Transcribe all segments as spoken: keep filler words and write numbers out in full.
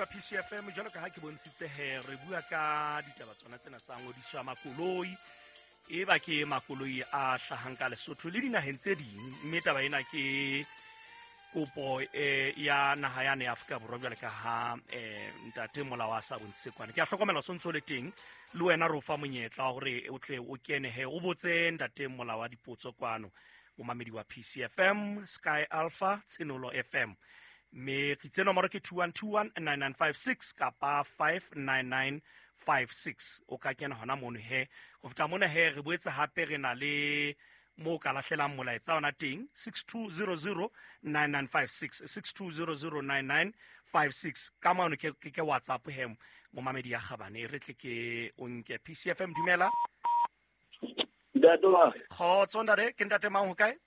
Momamedi wa P C F M, jwalo ka ha ke bontshitse he re bua ka ditaba tsona tsena tsa ngodiso ya makoloi, e ba ke makoloi a hlahang ka Lesotho le dinaheng tse ding, mme taba ena ke kopo eh, ya naha yane ya Afrika Borwa jwale ka ha eh, ntate Molao a sa bontshitse kwana. Ke a hlokomela o sontso le teng le wena re o fa monyetla wa hore o tle o kene he o botse ntate Molao wa dipotso kwano. Momamedi wa P C F M, Sky Alpha, Tshenolo F M. Mme re itse nomoro ke two one two one nine nine five six kapa five nine nine five six. O ka kena hona mono he. Ho feta mona he re boetse hape re na le mo ka lahlelang molaetsa ona teng six two zero zero nine nine five six, six two zero zero nine nine five six. Ka mano ke, ke, ke WhatsApp he momamedi ya Kgabane, re tle ke o nke. P C F M, dumela. Ntate wa. Kgotso ntate, ke ntate mang ho kae?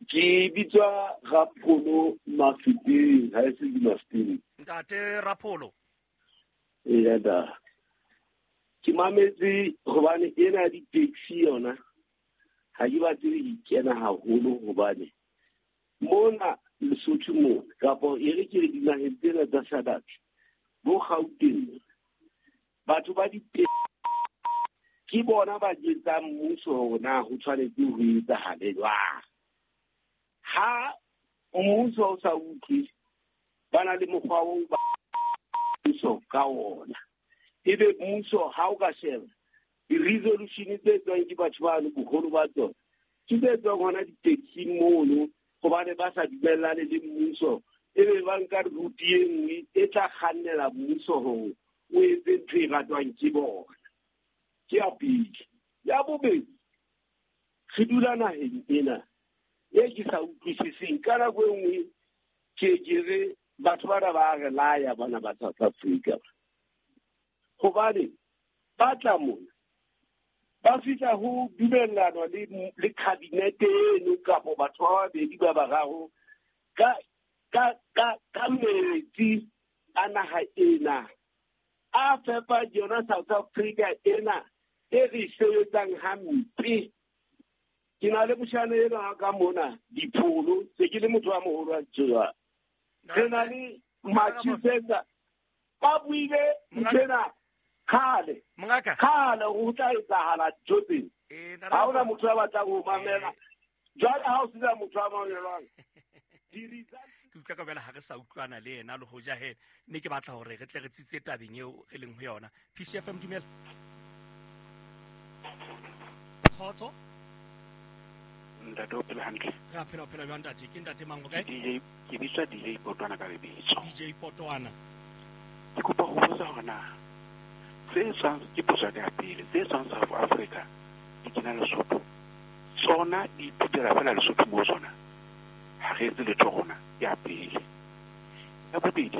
Ke bitswa Rapholo Mafeteng, ha e se ke Mafeteng. Ntate Rapholo. Eya da. Ke mametse hobane ena di-taxi yona ha ke batle ho ikena haholo hobane mona Lesotho mona kapa e re ke re dinaheng tsena tsa SADC bo Gauteng batho ba di-taxi ke bona ba jwetsang mmuso hore na ho tshwanetse ho etsahale jwang. Ha mmuso o sa utlwe, ba na le mokgwa oo ba mmuso ka ona. Ebe mmuso ha o ka sheba di-resolution tse tswang ke batho bano boholo ba tsona ke tse tswang hona di-taxing mono hobane ba sa dumellane le mmuso, ebe ba nka route e nngwe e tla kgannela mmuso hore o etse ntho e ratwang ke bona. Ke ya pele. Ya bobedi, re dula naheng ena e ke sa utlwisiseng. Ka nako e nngwe ke ke re batho bana ba re laya bana ba South Africa, hobane ba tla mona ba fihla ho dumellanwa le le cabinet eno kapo batho ba babedi ba bararo ka ka ka ka metsi a naha ena a fepa yona South Africa ena e re sebetsang hampe. Ke na le moshana ena ka mona dipholo, se ke le motho wa moholo wa tjena. Re na le Manchester ba buile ntsena khale mongaka khale ho tla etsahala ntho tsena. Ha hona motho ya batlang ho mamela. Jwale ha o sena motho a mamelwang, ke utlwa ka bela ha re sa utlwana le yena le hoja he ne ke batla hore re tle re tsitse tabeng eo re leng ho yona. P C F M, dumela. Kgotso. Ntate o phela hantle? Re a phela, o phela jwang ntate? Ke ntate mang o kae? D J, ke bitswa D J Potwana ka lebitso. D J Potwana. Ke kopa ho botsa hore na tse tswang ke potso ya pele, tse tswang South Africa di kena Lesotho, tsona di ithutela fela Lesotho mo tsona, ha re etse letho rona. Ya pele. Ya bobedi,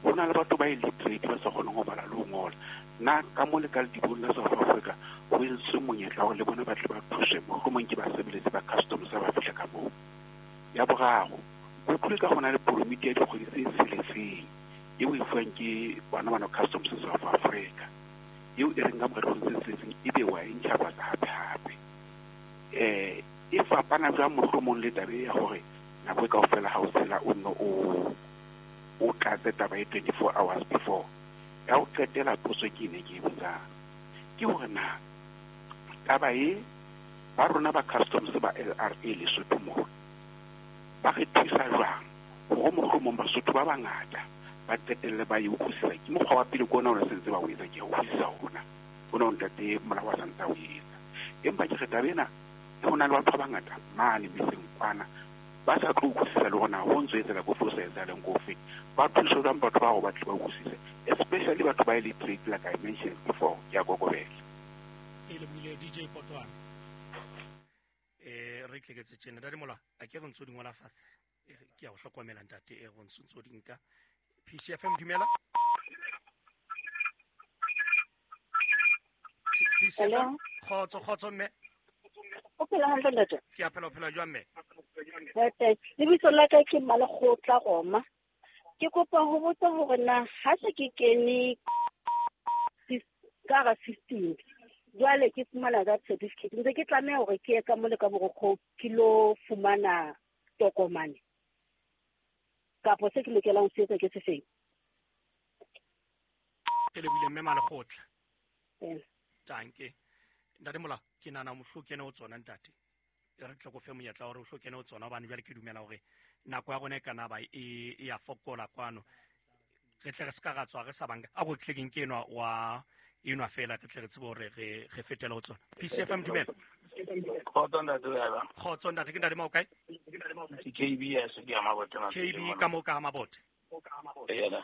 ho na le batho ba illiterate ba sa kgoneng ho bala le ho ngola. Na ka mo le ka ledibong la South Africa ho entswe monyetla hore le bona ba tle ba thuswe, mohlomong ke basebeletsi ba customs ba fihla ka moo. Ya boraro, ke utlwile ka hona le permit ya dikgwedi tse tsheletseng eo e fuwang ke bona bana customs South Africa, eo e reng ka mora dikgwedi tse tsheletseng ebe wa e ntjhafatsa hape hape. Eh, e fapana jwang mohlomong le taba ya hore nako e kaofela ha o tshela o nno o o tlatse taba e twenty-four hours before. Ya ho qetela potso ke ne ke e botsang ke hore na taba e ba rona ba customs ba L R A Lesotho moo ba re thusa jwang hore mohlomong Basotho ba bangata ba qetelle ba e utlwisisa. Ke mokgwa wa pele ke ona o ne sentse ba o etsa, ke a utlwisisa hona hona o ntate Molao a santse a o etsa. Empa ke re taba ena ho na le batho ba bangata mane metseng kwana ba sa tlo utlwisisa le hore na ho ntso etsahala ko fe, ho sa etsahaleng ko fe. Ba thuswe jwang batho ba hore ba tle ba utlwisise, especially batho ba illiterate like I mentioned before. Ke a kokobela. E lebohile D J Potwana. Eh, re tleketse tjena ntate Mola, a ke re ntso di ngola fatshe. Ke a o hlokomela ntate, e re ntso di nka. P C F M, dumela. P C F M, kgotso, kgotso mme. O phela hantle ntate? Ke a phela, o phela jwang mme? Ntate, lebitso la ka ke Malekgotla Roma. Ke kopa ho botsa hore na ha se ke kene ka hara system, jwale ke fumana that certificate, ntse ke tlameha hore ke ye ka mole ka borokgo ke lo fumana tokomane, kapo se ke lokelang ho se etsa ke se feng? Ke lebohile mme Malekgotla. Tanke. Ntate Molao, ke nahana mohlo kene ho tsona ntate. E re tle ko fe monyetla hore o hlo kene ho tsona hobane jwale ke dumela hore nako ya rona e kana ba e e ya fokola kwano. Re tle re ska ra tswa re sa banka. A go tle ke nke enwa wa enwa fela re tle re tsebe hore re re fetele ho tsona. P C F M dumela. Kgotso ntate o ya ba. Kgotso ntate, ke ntate Mao kae? Ke K B S ke ya Mabote. K B ka mo ka Mabote. Ee.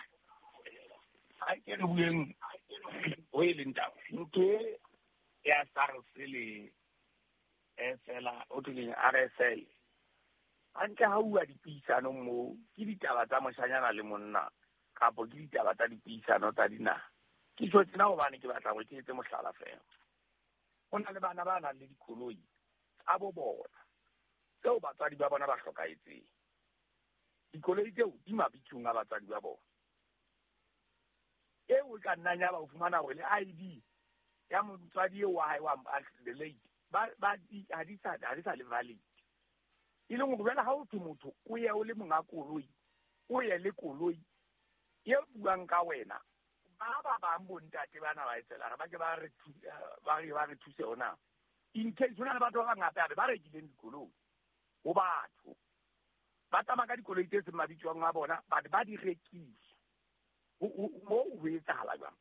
Ha ke re bueng ho e leng taba. Ntho e ya SARS le S L o tleng R S L. Hantle ha ua dipuisano mo ke ditaba tsa moshanyana le monna kapo ke ditaba tsa dipuisano tsa dinaha. Ke tjho tsena hobane ke batla hore ke etse mohlala fela. Ho na le bana ba nang le dikoloi tsa bo bona tseo batswadi ba bona ba hlokahetseng. Dikoloi tseo di mabitsong a batswadi ba bona. Eo ka nna ya ba o fumana hore le I D ya motswadi eo wa hae wa the late ba ba ha di sa ha di sa le valid. E leng hore jwale ha o thwe motho o ye o le monga koloi, o ye le koloi e buang ka wena. Ba ba bang bontate bana ba etsela ba ke ba re ba re ba re thuse hona. In case hona le batho ba bangata ba rekileng dikoloi ho batho. Ba tsamaya ka dikoloi tse seng mabitsong a bona, but ba di rekisa. Mo ho etsahala jwang?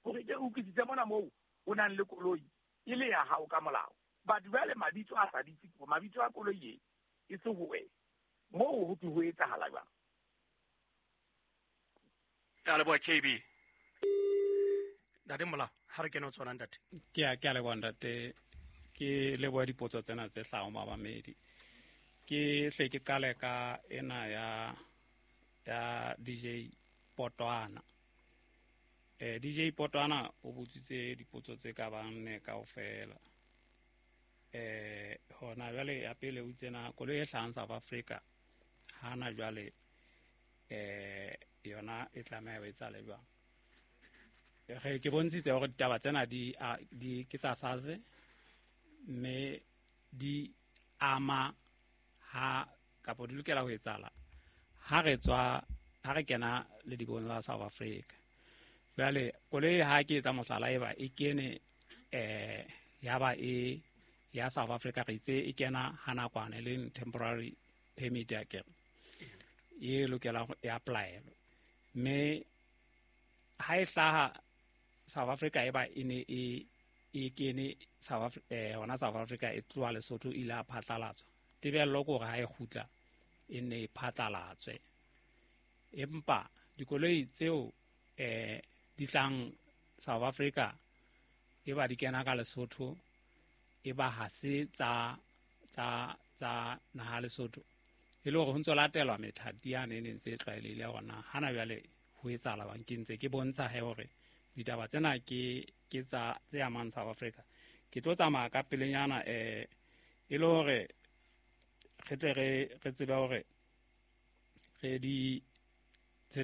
Hore ke utlwisitse mona moo o nang le koloi e le ya hao ka molao. But jwale mabitso a sa ditse, mabitso a koloi e e se ho wena. Moo ho ho etsahala jwang? Ke a leboha K B. Ntate Molao, ha re kene ho tsona ntate. Ke a ke a leboha ntate. Ke leboha dipotso tsena tse hlahang mamamedi. Ke hle ke qale ka ena ya ya D J Potwana. Eh D J Potwana o botsitse dipotso tse ka bang nne kaofela. Eh hona jwale ya pele o tsena koloi e hlahang South Africa hana jwale eh yona e tlameha ho etsale jwang. Re ke bontshitse hore ditaba tsena di di ke tsa SARS mme di ama ha kapo di lokela ho etsala ha re tswa ha re kena le dibong la South Africa. Jwale koloi ha ke etsa mohlala e ba e kene eh ya ba e ya South Africa re itse e kena ha nakwana le temporary permit ya ke e lokela e apply-elwe. Mme ha e hlaha South Africa e ba e ne e e kene South Africa eh hona South Africa e tloha Lesotho ile a phatlalatswa. Tebello ke hore ha e kgutla e ne e phatlalatswe. Empa dikoloi tseo eh di tlang South Africa e ba di kena ka Lesotho e ba ha se tsa tsa tsa naha Lesotho. E le hore ho ntso latelwa methati yane e ne ntse e tlwaelehile hona hana jwale ho etsahala bang ke ntse ke bontsha he hore ditaba tsena ke ke tsa tse amang South Africa. Ke tlo tsamaya ka pelenyana eh e le hore re tle re re tsebe hore re di re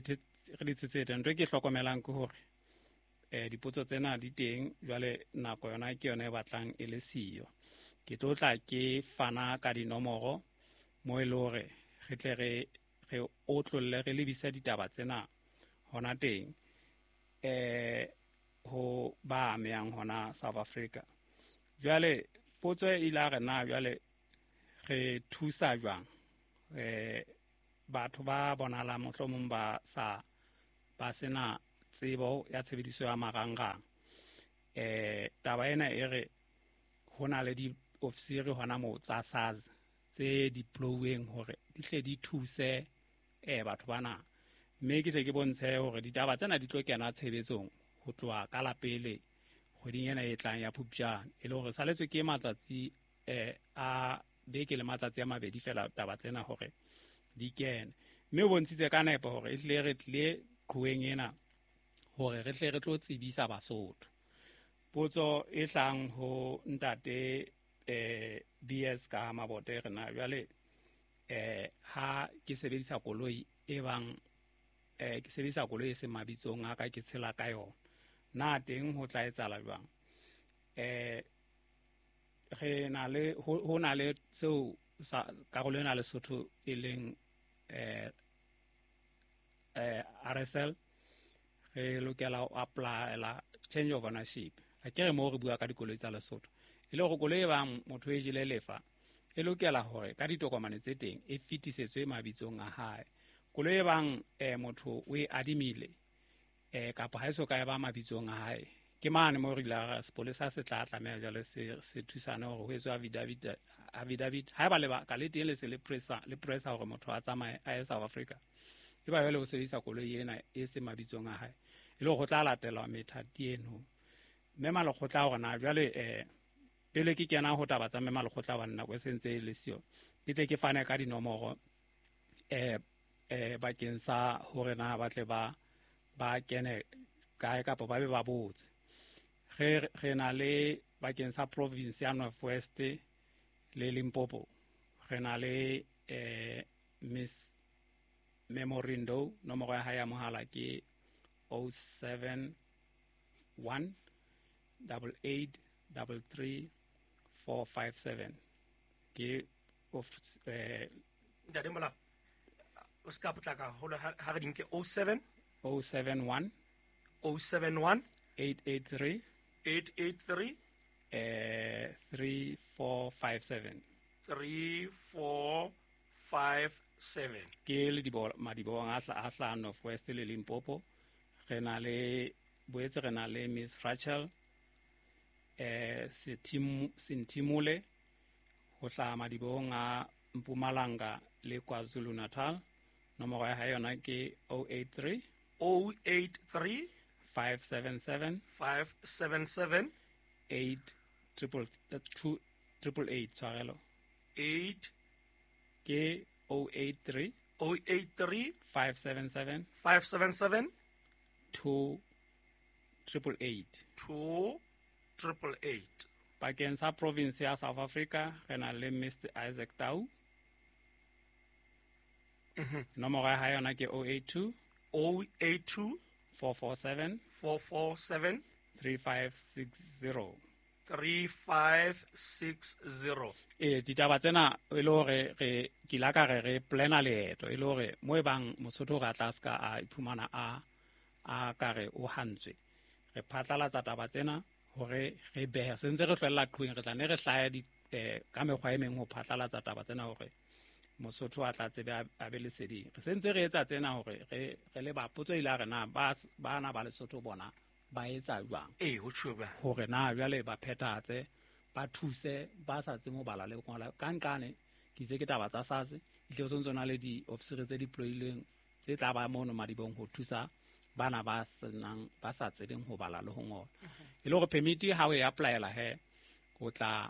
di tsetsete. Ntho e ke hlokomelang ke hore eh dipotso tsena di teng jwale nako yona ke yona e batlang e le siyo. Ke tlo tla ke fana ka dinomoro mo e le hore re tle re re otlolle re lebise ditaba tsena hona teng eh ho ba amehang hona South Africa. Jwale potso e ile a re na jwale re thusa jwang eh batho ba bonahala mohlomong ba sa ba sena tsebo ya tshebediso ya marangrang. Eh taba ena e re hona le di-ofisiri hona moo tsa SARS tse deployeng hore di hle di thuse eh batho bana. Mme ke tle ke bontshe hore ditaba tsena di tlo kena tshebetsong ho tloha ka la pele kgweding ena e tlang ya Phupjane. E le hore saletswe ke matsatsi eh a beke le matsatsi a mabedi fela taba tsena hore di kene. Mme o bontshitse ka nepo hore e tle re tlile qhoweng ena hore re tle re tlo tsebisa Basotho. Potso e tlang ho ntate eh B S ka Mabote re na jwale eh ha ke sebedisa koloi e bang eh ke sebedisa koloi e seng mabitsong a ka ke tshela ka yona na teng ho tla etsahala jwang? Eh re na le ho na le seo sa karolo ena Lesotho e leng eh eh R S L Re lokela ho applyela change of ownership. A ke re mo re bua ka dikoloi tsa Lesotho. E le hore koloi e bang motho e jele lefa e lokela hore ka ditokomane tse teng e fetisetswe mabitsong a hae. Koloi e bang eh, motho o e adimile eh, kapa ha e so ka e ba mabitsong a hae, ke mane mo re ile ra sepolesa se tla tlameha jwale se se thusane hore ho etswe affidavit affidavit haeba lebaka le teng le se le pressa le pressa hore motho a tsamaye a ye South Africa, e ba jwale o sebedisa koloi ena e se mabitsong a hae, e le hore ho tla latelwa methati eno. Mme Malekgotla hore na jwale eh pele ke kena ho taba tsa mme Malekgotla wa nako e sentse e le siyo, ke tle ke fane ka dinomoro eh eh bakeng sa hore na ba tle ba ba kene kae kapa ba be ba botse. Re re na le bakeng sa province ya North West le Limpopo, re na le eh Miss Memorindo, nomoro ya hae ya mohala ke oh seven one double eight double three four five seven. Ke of eh Ntate Molao, o ska potlaka haholo ha re di nke. oh seven oh seven one oh seven one eight eight three eight eight three eh three four five seven three four five seven. Ke le dibo madibong a hla a hla North West le Limpopo. Re na le boetse re na le Miss Rachel eh Setim Sentimole ho hlaha madibong a Mpumalanga le KwaZulu Natal. Nomoro ya hae yona ke oh eight three oh eight three five seven seven five seven seven eight triple two triple eight tshwarelo eight ke oh eight three oh eight three five seven seven five seven seven two triple eight two triple eight. Bakeng sa province ya South Africa re na le Mister Isaac Tau. Mm-hmm. Nomoro ya hae yona ke oh eight two oh eight two four four seven four four seven three five six zero three five six zero. Eh ditaba tsena e le hore re ke la ka re re plana leeto e le hore mo e bang Mosotho re tla ska a iphumana a a ka re o hantswe. Re phatlalatsa taba tsena hore re behe se ntse re hlwella qhweng, re tla ne re hlaya di eh, ka mekgwa e meng ho phatlalatsa taba tsena hore Mosotho a tla tsebe a be leseding. Re sentse re etsa tsena hore re re le ba potso ile a re na ba bana ba Lesotho bona ba etsa jwang, eh ho tjho jwang hore na jwale ba phethatse ba thuse ba sa tsebe ho bala le ho ngola. Ka nqane ke itse ke taba tsa SARS itle ho sentse na le di-officer tse deployilweng tse tla ba mono madibong ho thusa bana ba senang ba sa tsebeng ho bala le ho ngola. E le hore permit ha o e applyela he o tla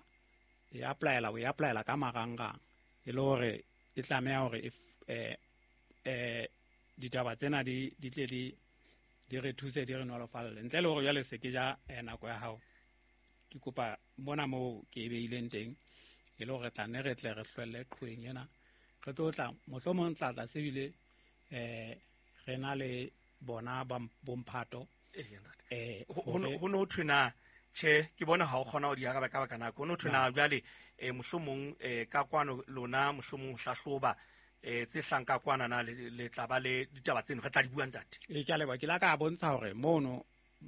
e applyela o e applyela ka marangrang, e le hore e tlameha hore eh eh ditaba tsena di di tle di di re thuse di re nolofalle ntle le hore jwale se ke ja nako ya hao. Ke kopa mona moo ke e beileng teng e le hore tla ne re tle re hlwelle qhweng ena, re tlo tla mohlomong tla tla sebile eh re na le bona ba bomphato eh ho no thwe na che ke bona ha o kgona ho di araba ka baka nako no thwe na jwale eh mohlomong eh ka kwano lona mohlomong hlahloba eh tse hlang ka kwana na le tla ba le ditaba tseno re tla di bua ntate. E ke a leboha, ke la ka bontsha hore mono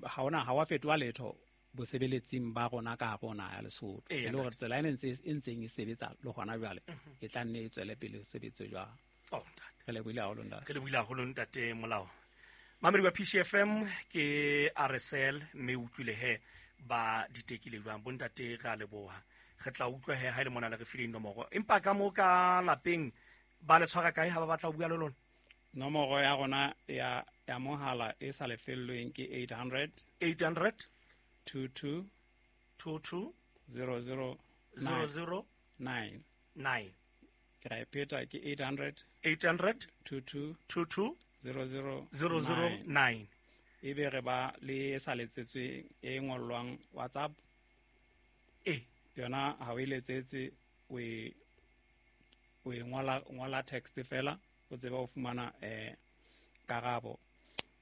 ha ona ha wa fetoha letho bosebeletsing ba rona ka rona ya Lesotho, e le hore tsela e ntse e ntseng e sebetsa le hona jwale e tla nne e tswele pele ho sebetse jwang. Oh ntate, re lebohile haholo ntate, re lebohile haholo ntate Molao. Mamedi wa P C F M ke R S L mme utlwile he ba ditekile jwang bontate, re a leboha. Re tla utlwa he ha ile mona le re fileng nomoro, empa ka mo ka lapeng ba le tshwara kae ha ba batla ho bua le lona? Nomoro ya rona ya ya mohala e sa lefellweng ke eight hundred eight hundred two two two two zero zero zero zero nine nine. Ke ra e pheta ke eight hundred eight hundred two two two two zero zero zero zero nine. Ebe re ba le sa letsetsweng e ngollwang WhatsApp e yona ha o e letsetse o e o e ngola ngola text fela o tseba o fumana eh karabo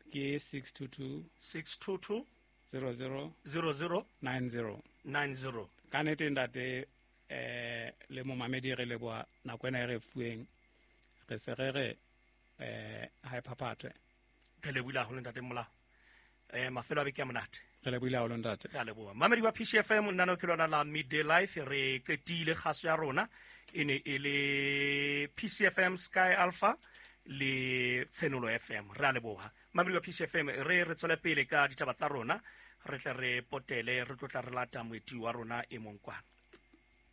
ke six two two six two two zero zero zero zero nine zero nine zero. Ka nnete ntate eh le momamedi re leboha nako ena e re fuweng, re se re re eh ha e phaphathwe. Re lebohile haholo ntate Molao. Eh mafelo a beke a monate. Re lebohile haholo ntate. Re a leboha. Mamedi wa P C F M, nna ke lona la Midday Life, re qetile kgaso ya rona e ne e le P C F M Sky Alpha le Tshenolo F M. Re a leboha. Mamedi wa P C F M, re re tswele pele ka ditaba tsa rona, re tle re potele, re tlotla re lata moeti wa rona e mong kwana.